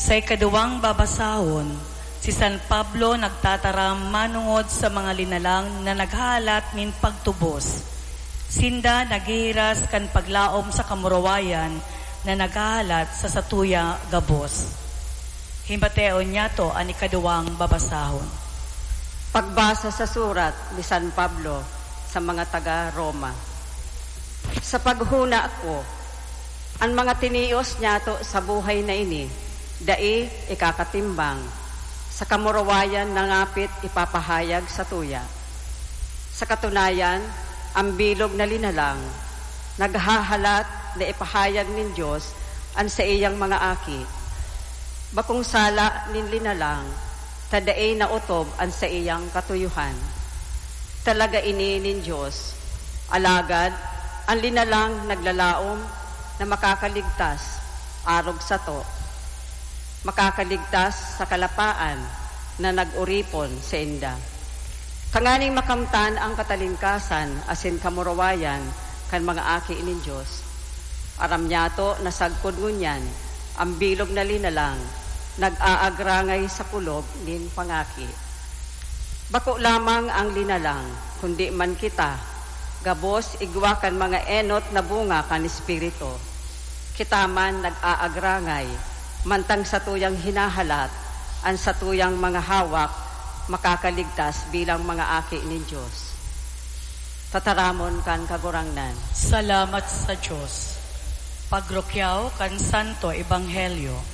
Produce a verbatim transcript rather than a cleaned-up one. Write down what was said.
Sa ikaduwang babasahon, si San Pablo nagtataram manongod sa mga linalang na naghahalat nin pagtubos. Sinda naghihiras kan paglaom sa kamurawayan na naghahalat sa satuya gabos. Himateon niyato an ikaduwang babasahon. Pagbasa sa surat ni San Pablo sa mga taga Roma. Sa paghuna ko, an mga tinios niyato sa buhay na ini dai ikakatimbang sa kamurawayan na ngapit ipapahayag sa tuya. Sa katunayan, ang bilog na linalang naghahalat na ipahayag nin Dios an saiyang mga aki. Bakong sala nin linalang ta dai naotob an saiyang katuyohan. Talaga ini nin Dios, alagad an linalang naglalaom na makakaligtas arog sato, makakaligtas sa kalapaan na nag-oripon sainda. Tanganing makamtan ang katalingkasan asin kamurawayan kan mga aki nin Dios. Aram niyato na sagkod ngunyan, ang bilog na linalang nag-aagrangay sa kulog nin pangaki. Bako lamang ang linalang, kundi man kita, gabos igwa kan mga enot na bunga kan Espiritu. Kita man nag-aagrangay, mantang satuyang hinahalat an satuyang mga hawak makakaligtas bilang mga aki nin Dios. Tataramon kan Kagurangnan. Salamat sa Dios. Pagrukyaw kan Santo Ebanghelyo.